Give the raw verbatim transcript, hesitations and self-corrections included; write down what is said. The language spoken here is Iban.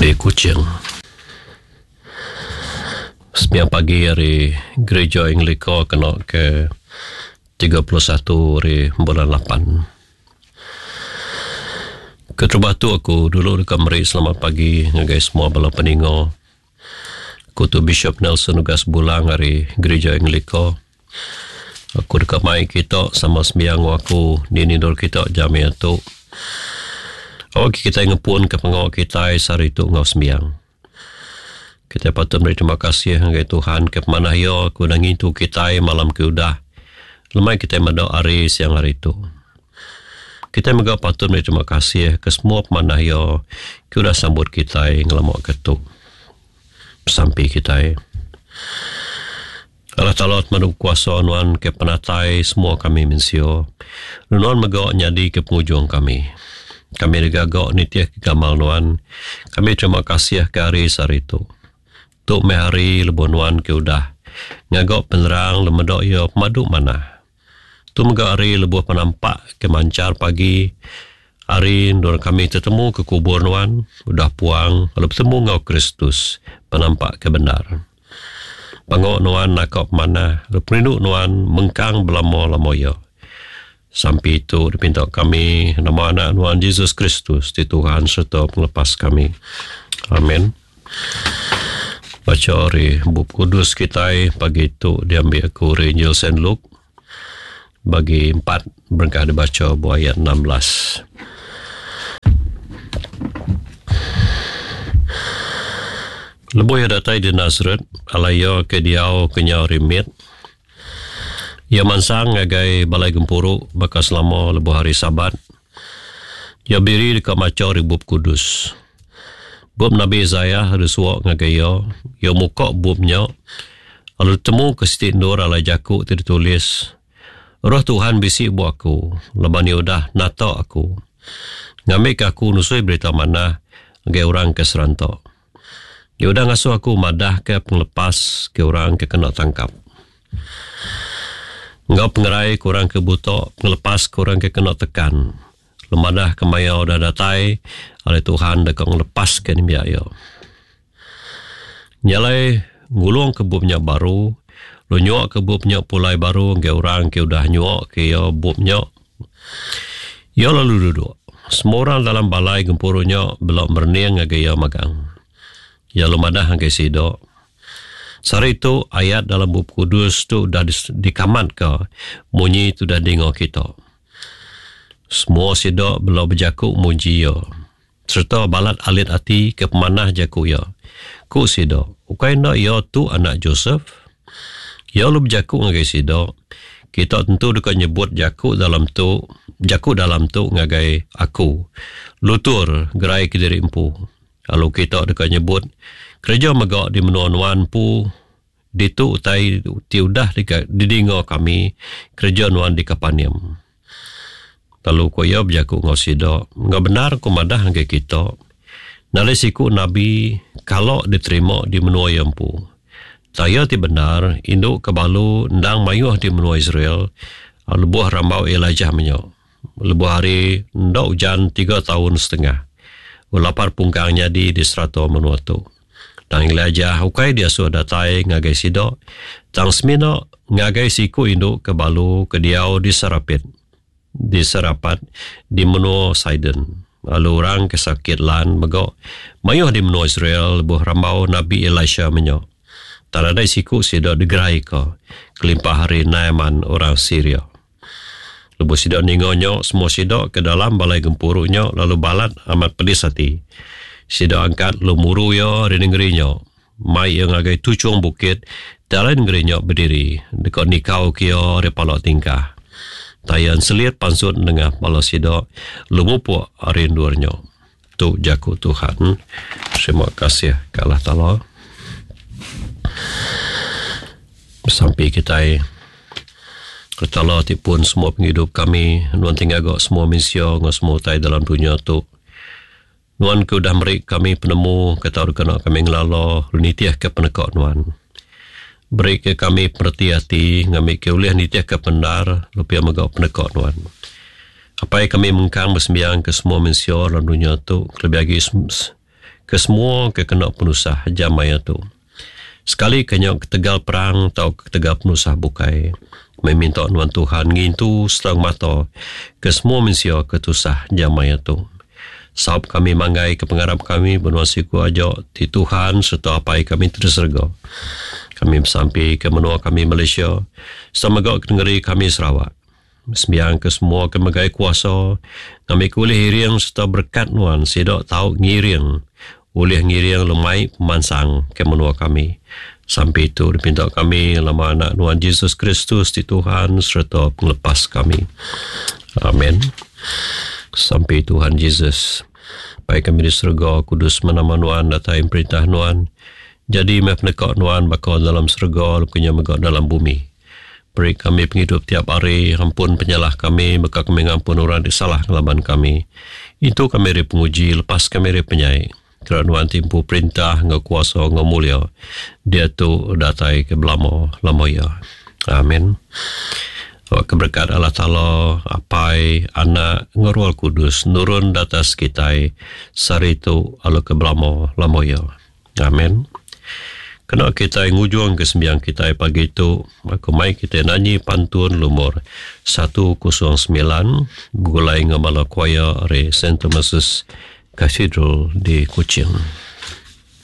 Di Kuching. Sembiang pagi hari Gereja Anglika kena ke tiga puluh satu hari bulan lapan. Keterubah tu aku dulu deka meri selamat pagi ngagai semua bala peninga. Aku tu Bishop Nelson Ugas Bulang hari Gereja Anglika. Aku deka mai kita sama sembiang aku di nindur kita jam tu. Awak kita ngepun ke pengawak kita sehari tu ngau sembiang. Kita patut beri terima kasih ngagai Tuhan ke pemanah ia aku dah ngintu kita malam ke udah. Lemai kita meda hari siang hari tu. Kita mega patut beri terima kasih ke semua pemanah ia ke udah sambut kita ngelamak ke tu. Sampai kita. Allah Ta'ala madu kuasa nuan ke penatai semua kami mensio. Nuan mega nyadi ke penghujung kami. Kami digagak nitiah ke gamal nuan. Kami terima kasih ke hari sehari tu. Tu meh hari lebuh nuan ke udah. Ngagak penerang lemedok ia pemadu mana. Tu mega hari lebuh penampak ke mancar pagi. Hari nur kami tertemu ke kubur nuan. Udah puang lalu bertemu ngau Kristus. Penampak ke benar. Pangok nuan nakap mana. Lalu perinduk nuan mengkang belamo-lamo ia. Sampai itu dipinta kami nama anak Tuhan Yesus Kristus di Tuhan serta penglepas kami. Amin. Baca hari Bup Kudus kita pagi itu diambil aku dari Injil Saint Luke bagi empat berengkah dibaca buah ayat enam belas. Lebuh ia datai di Nazaret, alaya ke diau kenyau rimit. Ia mansang ngagai balai gempuru baka selama lebuh hari Sabat. Ia biri dekat maca di Bup Kudus. Bup Nabi Isaiah ada suak ngagai ia. Ia muka bubnya. Lalu temu ke siti endur alai jakuk ti ditulis. Roh Tuhan bisi bu aku. Leban ia udah nata aku. Ngambil ke aku nusui berita manah ngagai orang ke serantok. Ia udah ngasuh aku madah ke penglepas ke orang ke kena tangkap. Ngau pengerai kurang ke buta, penglepas kurang ke kena tekan. Lemadah ke maya udah datai, oleh Tuhan deka ngelepas ke ni biaya. Nyalai ngulung ke bubnya baru, lu nyuak ke bubnya pulai baru ngau orang ke udah nyuak ke ya bubnya. Ya lalu duduk. Semua orang dalam balai gempurunya belok merniang ngagai ya magang. Ya lumadah ngagai sidok. Sehari itu ayat dalam Bup Kudus tu dah dikamat ke munyi tu dah dengar kita. Semua sidak belau berjakuk muji ia. Serta balat alit hati ke pemanah jakuk ia. Ku sidak, ukai nak ia tu anak Joseph? Ia lu berjakuk ngagai sidak. Kita tentu dekat nyebut jakuk dalam tu, jakuk dalam tu ngagai aku. Lutur gerai ke diri empu. Lalu kita dekat nyebut kerja megak di menua nuan pu ditu utai ti udah didinga kami kerja nuan di Kapernaum. Lalu ko ia berjakuk ngau sida, ngau benar ko madah ngagai kita. Nalai siku nabi kalau diterima di menua ia empu. Saya ti benar induk ke balu ndang mayuh di menua Israel lebuh rambau Elijah menyo. Lebuh hari ndak hujan tiga tahun setengah. Ulapar pungkang nyadi di serato menua tu. Tang Elijah ukai dia suah datai ngagai sidok. Tang semina ngagai siku induk ke balu ke diau di Sarapit. Di Serapat di menua Sidon. Lalu orang ke sakit lan megok mayuh di menua Israel lebuh rambau Nabi Elisha menyo. Tak ada siku sidok digerai ke kelimpah hari Naaman orang Syria. Lebuh sidok ningonyo semua sidok ke dalam balai gempurunya lalu balat amat pedis hati. Sidok angkat lumuru ya di negerinya. Mai yang ngagai tucung bukit dalam negerinya berdiri. Dekat nikau kia repalok tingkah. Tayan selit pansut nengah pala sidok lumupuk arindurnya. Tu jaku Tuhan. Terima kasih ke Allah Ta'ala. Sampai kita Ketala ti pun semua penghidup kami. Nuan tinggal gak semua manusia ngau semua utai dalam dunia tu. Nuan ke udah merik kami penemu, ke tahu kena kami ngelala, nitiah ke penekak nuan. Beri ke kami perhati hati, ngambil ke ulih nitiah ke pendar, lupa megak penekak nuan. Apai kami mengkang bersembiang ke semua manusia dalam dunia tu, lebih lagi Ke semua ke kena penusah jam maya tu. Sekali ke nya ketegal perang atau ketegal penusah bukai. Kami minta nuan Tuhan ngintu serta mata ke semua mensia ke tusah jam maya tu. Saup kami manggai ke pengarap kami benua siku aja ti Tuhan serta apai kami ti di serega. Kami besampi ke menua kami Malaysia serta mega ke negeri kami Sarawak. Sembiang ke semua ke megai kuasa ngambi ke ulih iring serta berkat nuan sida tau ngiring ulih ngiring lemai pemansang ke menua kami. Sampai itu dipinta kami lama anak nuan Jesus Kristus ti Tuhan serta penglepas kami. Amin. Sampai Tuhan Jesus. Baik kami di serega kudus menama nuan datai perintah nuan. Jadi meh peneka nuan bakal dalam serega punya mega dalam bumi. Beri kami penghidup tiap hari, ampun penyalah kami, maka kami ngampun orang di salah ngelaban kami. Itu kami dari penguji, lepas kami dari penyai. Kerana nuan timpu perintah, ngau kuasa, ngau mulia. Dia tu datai ke belamo, lamo ya. Amin. Awak keberkat Allah Ta'ala, Apai, Anak, ngau Roh Kudus, nurun datas kitai, sari tu alu ke belamo, lamo ya. Amin. Kena kita ngujung ke sembiang kita pagi itu, aku mai kita nyanyi pantun lumur satu kosong sembilan begulai ngamala choir re Saint Thomas's Cathedral di Kuching.